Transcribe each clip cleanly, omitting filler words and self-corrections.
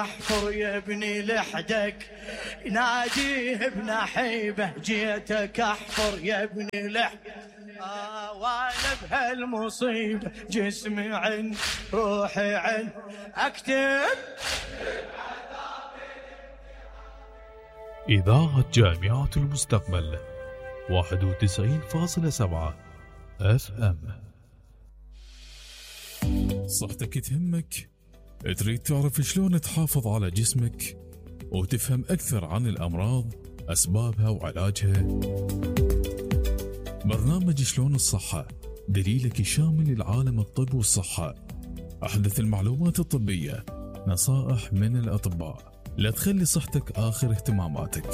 احفر يا ابني لحدك ناديه بنحيبه جيتك احفر يا ابني لحدك وانا بهالمصيبه جسمي عن روحي عن اكتب. إذاعة جامعة المستقبل 91.7 FM. صحتك تهمك؟ تريد تعرف شلون تحافظ على جسمك وتفهم أكثر عن الأمراض أسبابها وعلاجها؟ برنامج شلون الصحة دليلك الشامل لعالم الطب والصحة، أحدث المعلومات الطبية، نصائح من الأطباء، لا تخلي صحتك آخر اهتماماتك.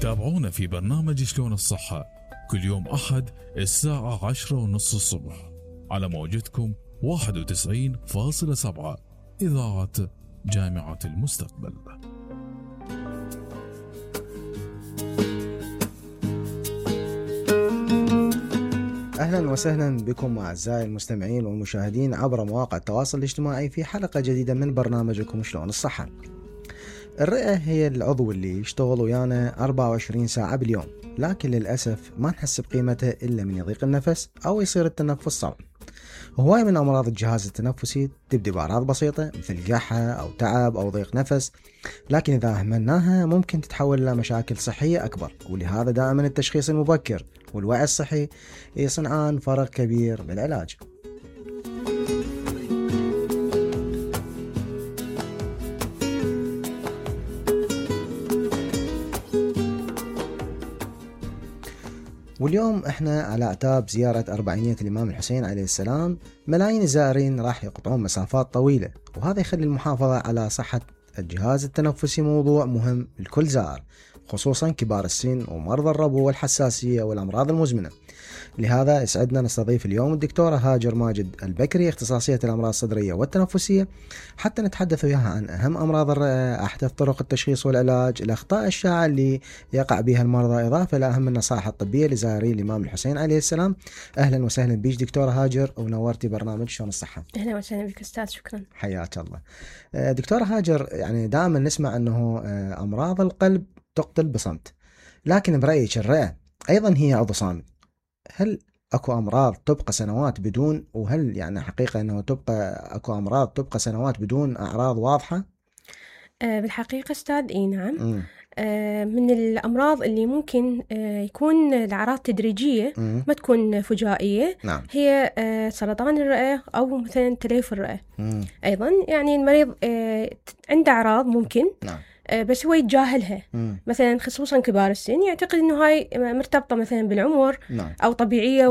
تابعونا في برنامج شلون الصحة كل يوم أحد الساعة 10:30 الصبح على موجتكم 91.7 إذاعة جامعة المستقبل. أهلا وسهلا بكم أعزائي المستمعين والمشاهدين عبر مواقع التواصل الاجتماعي في حلقة جديدة من برنامجكم شلون الصحة. الرئة هي العضو اللي يشتغل ويانا 24 ساعة باليوم، لكن للأسف ما نحس بقيمته إلا من يضيق النفس أو يصير التنفس صعب. هواية من أمراض الجهاز التنفسي تبدأ بأعراض بسيطة مثل قحة أو تعب أو ضيق نفس، لكن إذا أهملناها ممكن تتحول إلى مشاكل صحية أكبر، ولهذا دائما التشخيص المبكر والوعي الصحي يصنعان فرق كبير بالعلاج. واليوم احنا على اعتاب زيارة 400 الإمام الحسين عليه السلام. ملايين الزائرين راح يقطعون مسافات طويلة، وهذا يخلي المحافظة على صحة الجهاز التنفسي موضوع مهم لكل زائر، خصوصا كبار السن ومرضى الربو والحساسية والأمراض المزمنة. لهذا يسعدنا نستضيف اليوم الدكتورة هاجر ماجد البكري، اختصاصية الأمراض الصدرية والتنفسية، حتى نتحدث وياها عن أهم أمراض الرئة، أحدث طرق التشخيص والعلاج، الأخطاء الشائعة اللي يقع بها المرضى، إضافة إلى أهم النصائح الطبية لزائري الإمام الحسين عليه السلام. أهلا وسهلا بيش دكتورة هاجر، ونورتي برنامج شلون الصحة. أهلا وسهلا بك أستاذ، شكرا. حياك الله. دكتورة هاجر، يعني دائما نسمع أنه أمراض القلب تقتل بصمت، لكن برأيك الرئة أيضا هي عضو صامت. هل اكو امراض تبقى سنوات بدون، وهل يعني حقيقة انه اكو امراض تبقى سنوات بدون اعراض واضحة؟ بالحقيقة استاذ اي نعم. من الامراض اللي ممكن يكون الاعراض تدريجية، ما تكون فجائية. نعم. هي سرطان الرئة او مثلا تليف الرئة. ايضا يعني المريض عنده اعراض ممكن، نعم، بس هو يتجاهلها. مثلا خصوصا كبار السن يعتقد انه هاي مرتبطه مثلا بالعمر، نعم، او طبيعيه.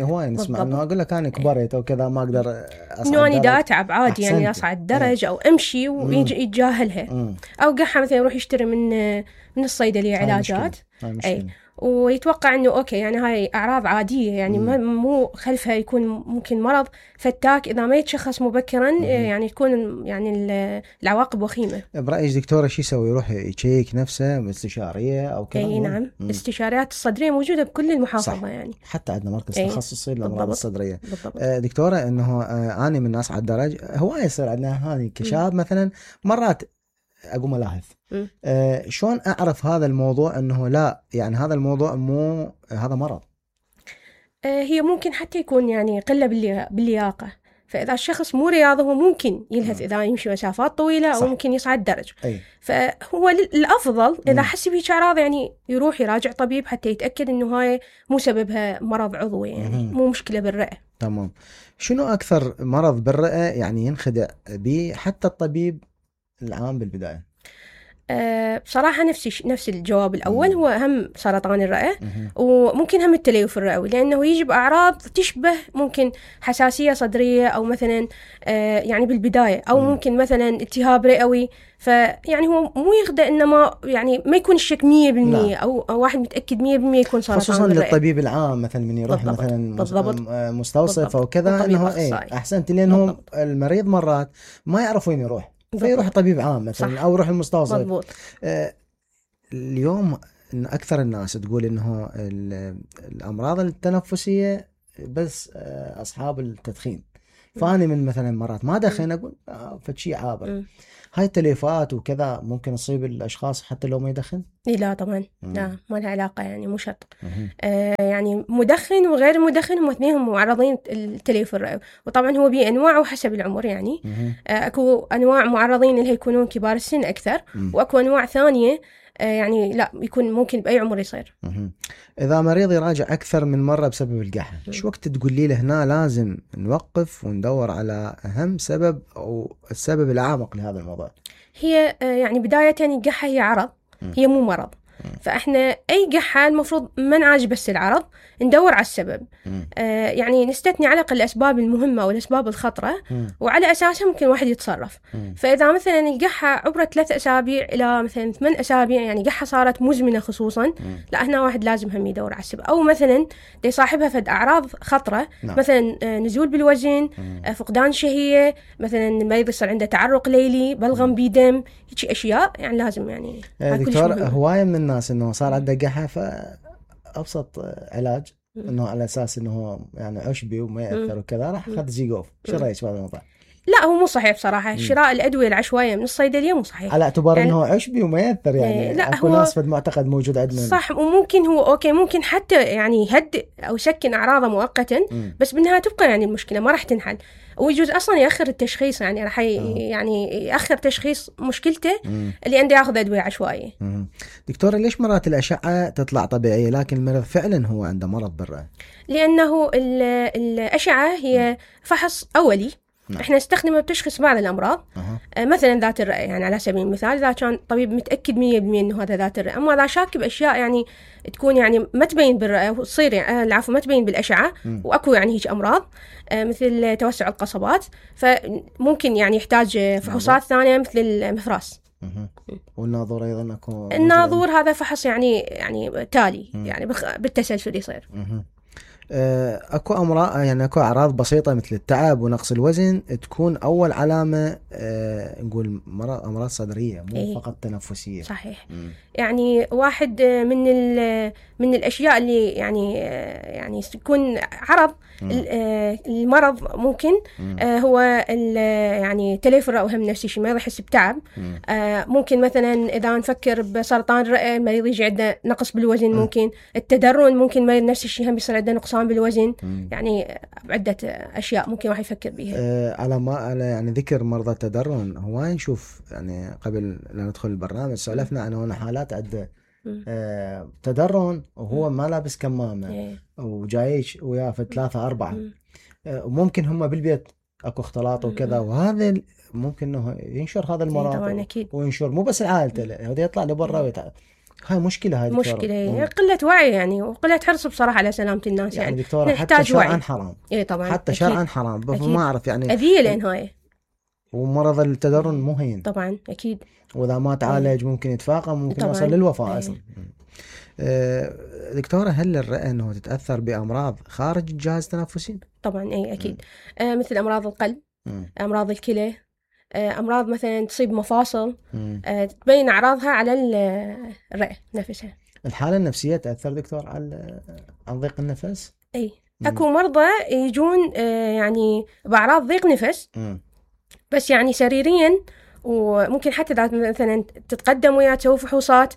هواي نسمع انه اقول لك انا كبرت او كذا ما اقدر اصعد، انه انا دا اتعب عادي، يعني اصعد درج او امشي ويتجاهلها. او قحه مثلا يروح يشتري من الصيدليه علاجات، اي، ويتوقع انه اوكي يعني هاي اعراض عاديه، يعني مو خلفها يكون ممكن مرض فتاك اذا ما يتشخص مبكرا. يعني تكون يعني العواقب وخيمه. برايك دكتوره شو يسوي؟ يروح يشيك نفسه استشاريه او كذا؟ اي نعم. الاستشاريات الصدريه موجوده بكل المحافظه. صح. يعني حتى عندنا مركز تخصصي للامراض الصدريه. بالضبط. دكتوره، انه انا من الناس على الدرج هواي يصير عندنا هذه كشاب مثلا، مرات اقوم الاحظ. شلون اعرف هذا الموضوع انه لا، يعني هذا الموضوع مو هذا مرض؟ هي ممكن حتى يكون يعني قله باللياقه، فاذا الشخص مو رياضي هو ممكن يلهث اذا يمشي مسافات طويله، او ممكن يصعد درج. فهو الافضل اذا حس بهيك اعراض يعني يروح يراجع طبيب حتى يتاكد انه هاي مو سببها مرض عضوي، يعني مو مشكله بالرئه. تمام. شنو اكثر مرض بالرئه يعني ينخدع به حتى الطبيب العام بالبدايه؟ بصراحة نفس الجواب الأول. هو هم سرطان الرئة، وممكن هم التليف الرئوي، لأنه يجي بأعراض تشبه ممكن حساسية صدرية، أو مثلا يعني بالبداية، أو ممكن مثلا التهاب رئوي. فيعني هو مو يخدع، إنما يعني ما يكون الشك 100%، أو واحد متأكد 100% يكون سرطان خصوصا الرئة. للطبيب العام مثلا من يروح بالضبط. مثلا بالضبط. مستوصف أو كذا، إنه أحسنت، لأنه المريض مرات ما يعرف وين يروح، فيروح طبيب عام مثلا. صح. أو يروح المستوصف. مضبوط. اليوم إن أكثر الناس تقول إنه الأمراض التنفسية بس أصحاب التدخين. فأنا من مثلا مرات ما دخن أقول فشي عابر. هاي التليفات وكذا ممكن تصيب الاشخاص حتى لو ما يدخن؟ لا طبعا لا، ما لها علاقة يعني، مو شرط. يعني مدخن وغير مدخن هم اثنينهم معرضين للتليف الرئوي، وطبعا هو بأنواع وحسب العمر يعني. اكو انواع معرضين اللي هيكونون كبار السن اكثر، واكو انواع ثانية يعني لا، يكون ممكن بأي عمر يصير. إذا مريض يراجع أكثر من مرة بسبب القحة، شو وقت تقولي له هنا لازم نوقف وندور على أهم سبب أو السبب الأعمق لهذا الموضوع؟ هي يعني بداية القحة هي عرض، هي مو مرض. فإحنا أي قحة المفروض ما نعالج بس العرض، ندور على السبب. يعني نستثني على الأقل الأسباب المهمة أو الأسباب الخطرة، وعلى أساسها ممكن واحد يتصرف. فإذا مثلا القحة عبرت 3 أسابيع إلى مثلا 8 أسابيع، يعني قحة صارت مزمنة خصوصا، لا هنا واحد لازم هم يدور على السبب. أو مثلا دي صاحبها فد أعراض خطرة، مثلا نزول بالوزن، فقدان شهية، مثلا المريض يصير عنده تعرق ليلي، بلغم بدم، هيك أشياء يعني لازم يعني. دكتور، هواية من الناس إنه صار عنده قحة، فأبسط علاج إنه على أساس إنه يعني عشبي وما يأثر وكذا راح أخذ زيغوف. شو رأيك بهذا الموضوع؟ لا هو مو صحيح بصراحة. شراء الأدوية العشوائية من الصيدلية مو صحيح على اعتبار يعني إنه عشبي وما يأثر يعني. لا أكو ناس فد معتقد موجود عندنا صح، وممكن هو أوكي ممكن حتى يعني يهدئ أو يسكن أعراضه مؤقتا، بس بالنهاية تبقى يعني المشكلة ما راح تنحل، ويجوز أصلا يأخر التشخيص يعني، راح يعني يأخر تشخيص مشكلته اللي عنده يأخذ أدوية عشوائية. دكتورة، ليش مرات الأشعة تطلع طبيعية لكن المريض فعلا هو عنده مرض بالرئة؟ لأنه الأشعة هي فحص أولي، احنا نستخدمه بتشخيص بعض الامراض. مثلا ذات الرئه يعني على سبيل المثال، اذا كان طبيب متاكد 100% انه هذا ذات الرئه. اما اذا شاك باشياء يعني تكون يعني ما تبين بالرئه وتصير يعني العفو ما تبين بالاشعه، واكو يعني هيك امراض مثل توسع القصبات، فممكن يعني يحتاج فحوصات ثانيه مثل المفراس. والناظور ايضا اكو. الناظور هذا فحص يعني تالي يعني بالتسلسل يصير. اكو امراض يعني اكو اعراض بسيطه مثل التعب ونقص الوزن تكون اول علامه نقول امراض صدريه مو فقط تنفسيه. صحيح. يعني واحد من الاشياء اللي يعني تكون عرض المرض ممكن هو يعني تليف الرئه، وهم نفس الشيء ما يحس بتعب. ممكن مثلا اذا نفكر بسرطان الرئه المريض يجي عنده نقص بالوزن، ممكن التدرن، ممكن مريض نفس الشيء هم بيصير عنده نقصان بالوزن. يعني عده اشياء ممكن واحد يفكر بيها. على يعني ذكر مرضى التدرن، هو نشوف يعني قبل لا ندخل البرنامج سولفنا عن هنا حالات عده تدرن وهو ما لابس كمامه وجايش وياه في 3-4، وممكن هم بالبيت اكو اختلاط وكذا، وهذا ممكن انه ينشر هذا المرض وينشر مو بس عائلته، هذا يطلع لبرا. هاي مشكله، هاي مشكله قله وعي يعني، وقله حرص بصراحه على سلامه الناس يعني دكتورة حتى شرعا حرام. طبعا حتى شرعا حرام، ما اعرف يعني اذيه للنهايه. ومرض التدرن مهين طبعا اكيد، واذا ما تعالج ممكن يتفاقم، ممكن يوصل للوفاه اصلا. دكتورة، هل الرئة انه تتاثر بامراض خارج الجهاز التنفسي؟ طبعا اكيد. مثل امراض القلب، امراض الكلى، امراض مثلا تصيب مفاصل، تبين اعراضها على الرئه نفسها. الحاله النفسيه تاثر دكتور على ضيق النفس؟ اكو مرضى يجون يعني باعراض ضيق نفس، بس يعني سريريا، وممكن حتى مثلا تتقدم وياه تسوي فحوصات،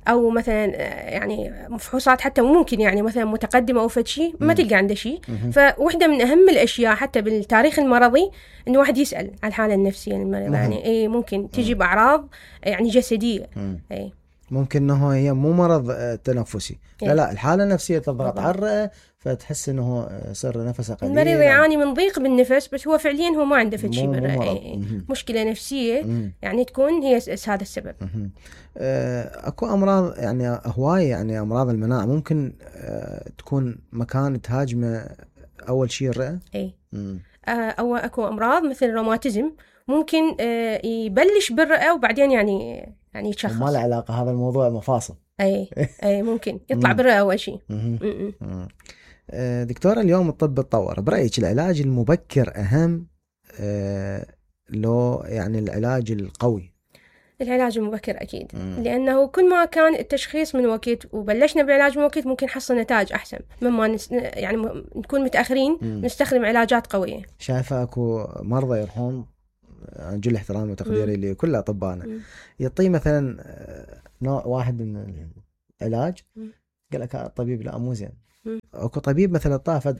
او مثلا يعني فحوصات حتى ممكن يعني مثلا متقدمه او فد شيء ما تلقى عنده شيء. فوحده من اهم الاشياء حتى بالتاريخ المرضي انه واحد يسال على الحاله النفسيه للمريض. يعني ممكن تجي باعراض يعني جسديه. ممكن انه هي مو مرض تنفسي، لا الحاله النفسيه تضغط على الرئه فتحس انه صار نفسه قليل، المريض يعاني من ضيق بالنفس، بس هو فعليا هو ما عنده فد شيء بالرئه، مشكله نفسيه يعني تكون هي هذا السبب. اكو امراض يعني هوايه يعني امراض المناعه ممكن تكون مكان تهاجمه اول شيء الرئه. او اكو امراض مثل الروماتيزم ممكن يبلش بالرئه وبعدين يعني يتشخص. ما له علاقه هذا الموضوع مفاصل. اي ممكن يطلع بالرئه اول شيء. دكتورة، اليوم الطب تطور، برأيك العلاج المبكر أهم لو يعني العلاج القوي؟ العلاج المبكر أكيد. لأنه كل ما كان التشخيص من وقت وبلشنا بالعلاج من وقت ممكن نحصل نتائج أحسن مما يعني نكون متأخرين نستخدم علاجات قوية. شايفة أكو مرضى يروحون جل احترامي وتقديري لكل اطبائنا، يعطيه مثلا نوع واحد من العلاج، قال لك الطبيب لا مو زين. اكو طبيب مثلا طافت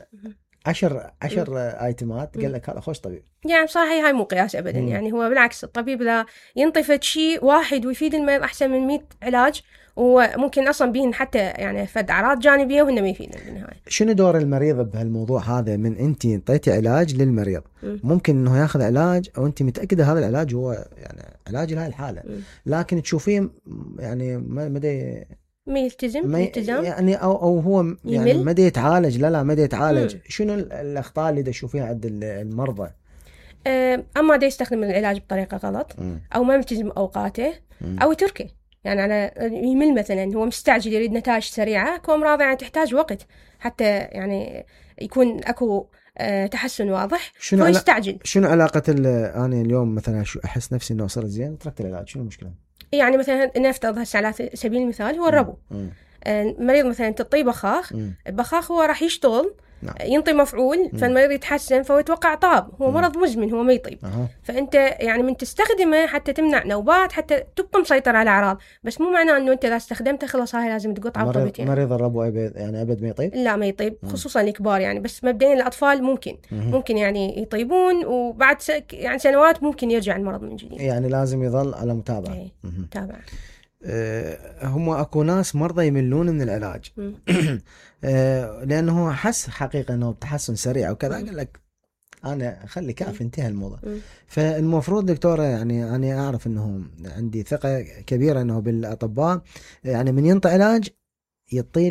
10 ايتمات قال لك هذا خوش طبيب. يعني صحيح هاي مو قياس ابدا. يعني هو بالعكس الطبيب اذا ينطي فد شيء واحد ويفيد المريض احسن من 100 علاج، وممكن اصلا بيهن حتى يعني فد اعراض جانبيه وهن ما يفيدن بالنهايه. شنو دور المريض بهالموضوع هذا؟ من انت انطيتي علاج للمريض ممكن انه ياخذ علاج او انت متاكده هذا العلاج هو يعني علاج لهي الحاله، لكن تشوفيه يعني ما يلتزم يعني او هو يعني ما يتعالج. لا ما يتعالج. شنو الاخطاء اللي تشوفيها عند المرضى؟ اما دا يستخدم العلاج بطريقه غلط، او ما يلتزم اوقاته، او يتركه. يعني على يمل مثلا، هو مستعجل يريد نتائج سريعه. اكو امراض يعني تحتاج وقت حتى يعني يكون اكو تحسن واضح، هو يستعجل. شنو علاقه انا اليوم مثلا احس نفسي انه صرت زين تركت العلاج، شنو المشكله؟ يعني مثلا نفترض هسه على سبيل المثال هو الربو. المريض مثلا تعطيه بخاخ هو راح يشتغل، ينطي مفعول، فالمريض يتحسن، فهو يتوقع طاب. هو مرض مزمن، هو ما يطيب. فانت يعني من تستخدمه حتى تمنع نوبات، حتى تبقى مسيطر على الاعراض، بس مو معناه انه انت اذا استخدمته خلاص هاي لازم تقطع وطبتين. مريض الربو يعني ابد ما يطيب؟ لا ما يطيب، خصوصا الكبار يعني. بس مبدئيا الاطفال ممكن يعني يطيبون، وبعد يعني سنوات ممكن يرجع المرض من جديد. يعني لازم يظل على متابعه. متابعه. هم اكو ناس مرضى يملون من العلاج لانه حس حقيقه انه بتحسن سريع وكذا، قال لك انا خلي كافي انتهى الموضوع. فالمفروض دكتوره يعني انا اعرف انه عندي ثقه كبيره انه بالاطباء، يعني من ينطي علاج يعطي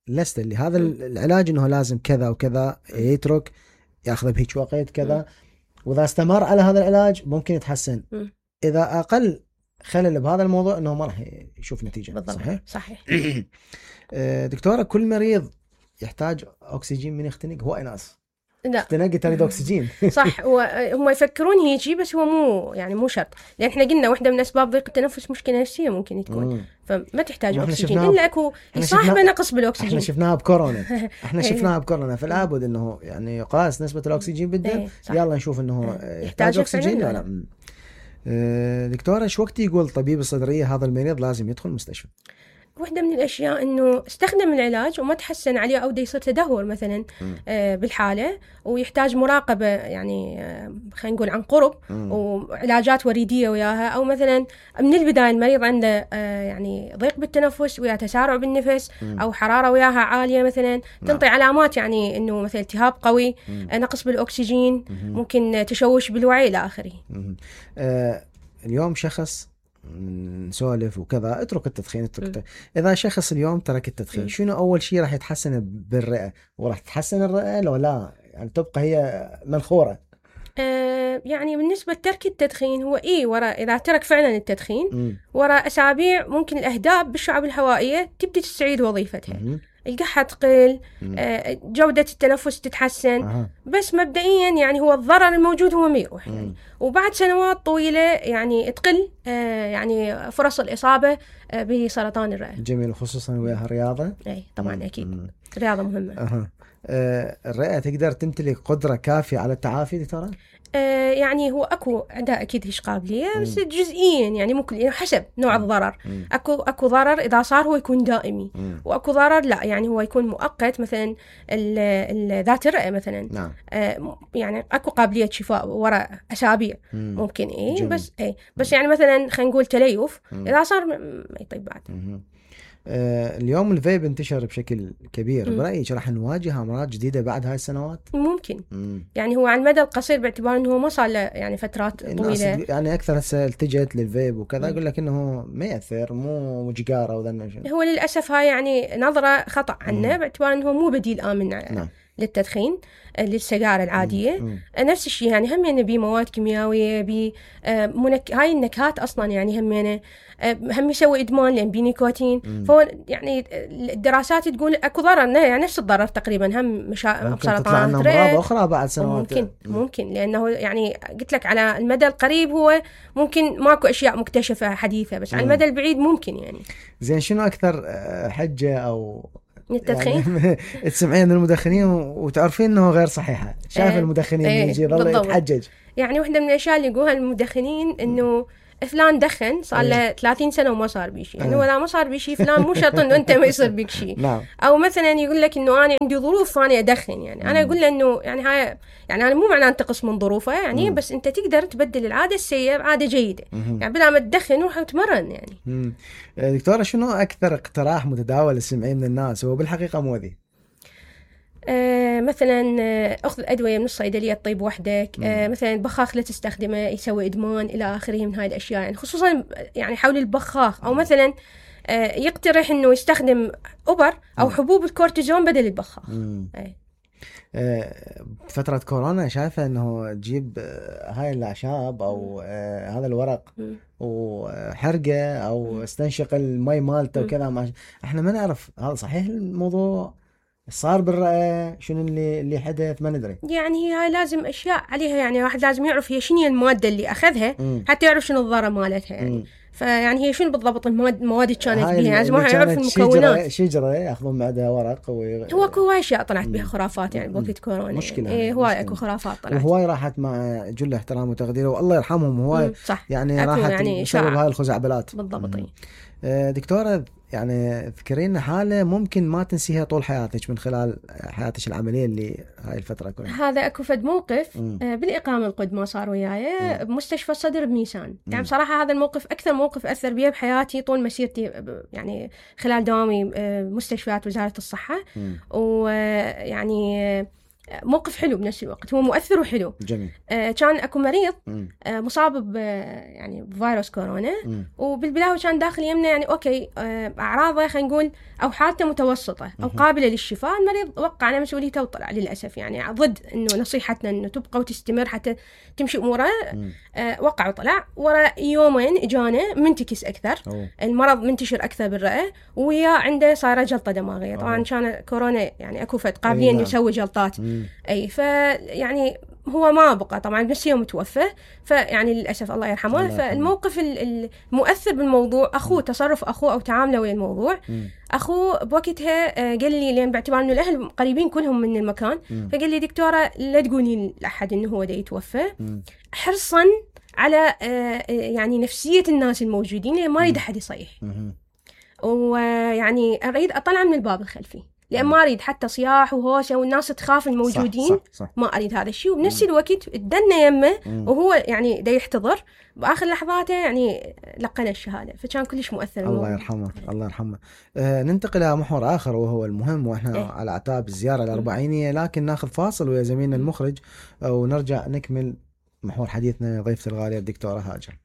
اللسته اللي هذا العلاج انه لازم كذا وكذا، يترك ياخذ بهيك وقت كذا، واذا استمر على هذا العلاج ممكن يتحسن. اذا اقل خلل بهذا الموضوع انه ما راح يشوف نتيجه. بالضبط. صحيح. دكتوره كل مريض يحتاج اكسجين من يختنق؟ هو ناس لا اختنق تريد اكسجين. صح. هم يفكرون هيجي، بس هو مو شرط، لان احنا قلنا واحده من اسباب ضيق التنفس مشكله نفسيه ممكن تكون، فما تحتاج اكسجين الا اكو صاحبه نقص بالاكسجين. احنا شفناها بكورونا. شفناها بكورونا، فلا بد انه يعني يقاس نسبه الاكسجين بالدم. يلا نشوف انه يحتاج اكسجين ولا لا. دكتورة شو وقت يقول طبيب الصدرية هذا المريض لازم يدخل المستشفى؟ واحدة من الأشياء إنه استخدم العلاج وما تحسن عليه، أو دا يصير تدهور مثلا بالحالة، ويحتاج مراقبة يعني خلينا نقول عن قرب، وعلاجات وريدية وياها. أو مثلا من البداية المريض عنده يعني ضيق بالتنفس ويا تسارع بالنفس، أو حرارة وياها عالية مثلا، تنطي علامات يعني إنه مثلا التهاب قوي، نقص بالأكسجين، ممكن تشوش بالوعي إلى آخره. اليوم شخص نسولف وكذا اترك التدخين اذا شخص اليوم ترك التدخين، شنو اول شيء راح يتحسن بالرئه؟ وراح تتحسن الرئه لو لا يعني تبقى هي منخوره؟ يعني بالنسبه لترك التدخين هو ورا اذا ترك فعلا التدخين ورا اسابيع ممكن الاهداب بالشعب الهوائيه تبدي تستعيد وظيفتها، القحة تقل، جودة التنفس تتحسن. بس مبدئيا يعني هو الضرر الموجود هو ما يروح يعني. وبعد سنوات طويلة يعني تقل يعني فرص الإصابة بسرطان الرئة. جميل، خصوصا وياها الرياضة. اي طبعا أكيد الرياضة مهمة. الرئة تقدر تمتلك قدرة كافية على التعافي دكتورة؟ يعني هو اكو عندها اكيد هيش قابليه، بس جزئيا يعني ممكن يعني حسب نوع الضرر. اكو ضرر اذا صار هو يكون دائمي، واكو ضرر لا يعني هو يكون مؤقت، مثلا ذات الرئه مثلا. نعم. يعني اكو قابليه شفاء وراء اسابيع ممكن. بس يعني مثلا خلينا نقول تليف اذا صار ما يطيب بعد. اليوم الفيب انتشر بشكل كبير، برأيك راح نواجه أمراض جديدة بعد هاي السنوات؟ ممكن. يعني هو على المدى القصير باعتبار أنه ما صار له يعني فترات طويلة، يعني أكثر هسه التجت للفيب وكذا، يقول لك أنه ما يأثر، مو جيجارة وذا. هو للأسف هاي يعني نظرة خطأ عنه، باعتبار أنه مو بديل آمن نعم. للتدخين للسجارة العادية. نفس الشيء يعني هم يعني بمواد كيميائية هاي النكهات أصلا يعني هم يسوي إدمان لأن بنيكوتين. فهو يعني الدراسات تقول أكو ضرر يعني نفس الضرر تقريبا، هم سرطان أمراض أخرى بعد سنوات. ممكن لأنه يعني قلت لك على المدى القريب هو ممكن ماكو أشياء مكتشفة حديثة، بس على المدى البعيد ممكن يعني. زين شنو أكثر حجة أو التدخين يعني تسمعين المدخنين وتعرفين انه غير صحيحه؟ شايف المدخنين يجي يضل يتحجج. يعني واحدة من الأشياء اللي يقولها المدخنين إنه فلان دخن صار له 30 سنة وما صار بيه شيء، يعني ولا ما صار بيه شيء فلان مو شرط إنه أنت ما يصير بك شيء. نعم. أو مثلا يقول لك إنه أنا عندي ظروف فأنا أدخن، يعني أنا أقول له إنه يعني هاي يعني أنا مو معناه أنتقص من ظروفه يعني، بس أنت تقدر تبدل العادة السيئة بعادة جيدة، يعني بدل ما تدخن روح وتمرن يعني. دكتورة شنو أكثر اقتراح متداول تسمعيه من الناس هو بالحقيقة مؤذي؟ مثلا أخذ الأدوية من الصيدلية تطيب وحدك، مثلا البخاخ لا تستخدمه يسوي إدمان إلى آخره من هاي الأشياء، يعني خصوصا يعني حول البخاخ. أو مثلا يقترح إنه يستخدم أوبر أو حبوب الكورتيزون بدل البخاخ. فترة كورونا شايفة إنه تجيب هاي الأعشاب أو هذا الورق وحرقة أو استنشق المي مالته وكذا، إحنا ما نعرف هذا صحيح الموضوع صار بالرأي شنو اللي حدث ما ندري. يعني هي لازم أشياء عليها، يعني واحد لازم يعرف هي شنو هي المادة اللي أخذها حتى يعرف شنو الضرر مالتها يعني. فيعني هي شنو بالضبط المواد اللي كانت بيها، لازم واحد يعرف المكونات. شجرة ياخذون معها ورق هو هواي أشياء طلعت بها خرافات يعني بوقت كورونا، مشكلة هواي أكو خرافات طلعت، وهواي راحت مع جل احترام وتقدير والله يرحمهم. هواي يعني راحت يعني بسبب هاي الخزعبلات. بالضبط. دكتورة يعني ذكرينا حالة ممكن ما تنسيها طول حياتك من خلال حياتك العملية اللي هاي الفترة كلها. هذا أكو فد موقف بالإقامة القد ما صار وياي بمستشفى الصدر بميسان. يعني بصراحة هذا الموقف أكثر موقف أثر بي بحياتي طول مسيرتي، يعني خلال دوامي مستشفيات وزارة الصحة. ويعني موقف حلو بنفس الوقت، هو مؤثر وحلو. جميل. كان اكو مريض مصاب يعني بفيروس كورونا، وبالبداية كان داخل يمنا يعني اوكي اعراضه خلينا نقول او حالته متوسطه او قابله للشفاء. المريض وقع على مسؤوليته وطلع للاسف، يعني ضد انه نصيحتنا انه تبقى وتستمر حتى تمشي اموره. وقع وطلع ورا يومين اجانا منتكس اكثر، المرض منتشر اكثر بالرئه، ويا عنده صايره جلطه دماغيه. طبعا كان كورونا يعني اكو فد قابليه انه يسوي جلطات. اي فيعني هو ما بقى طبعا بس يوم توفى، فيعني للاسف الله يرحمه. فالموقف المؤثر بالموضوع اخوه، تصرف اخوه او تعامله ويا الموضوع. اخوه بوقتها قال لي، لان باعتبار انه الاهل قريبين كلهم من المكان، فقال لي دكتوره لا تقولين لاحد انه هو دا يتوفى، حرصا على يعني نفسيه الناس الموجودين، لان ما اريد احد يصيح، ويعني اريد اطلع من الباب الخلفي، لأن ما أريد حتى صياح وهوشة والناس تخاف الموجودين. صح. ما أريد هذا الشيء. وبنفس الوقت ادنا يمه وهو يعني دا يحتضر بآخر لحظاته، يعني لقنا الشهادة، فكان كلش مؤثر. الله يرحمه الله يرحمه. ننتقل إلى محور آخر وهو المهم، وإحنا على أعتاب الزيارة الأربعينية، لكن ناخذ فاصل ويا زميلنا المخرج ونرجع نكمل محور حديثنا ضيفة الغالية الدكتورة هاجر.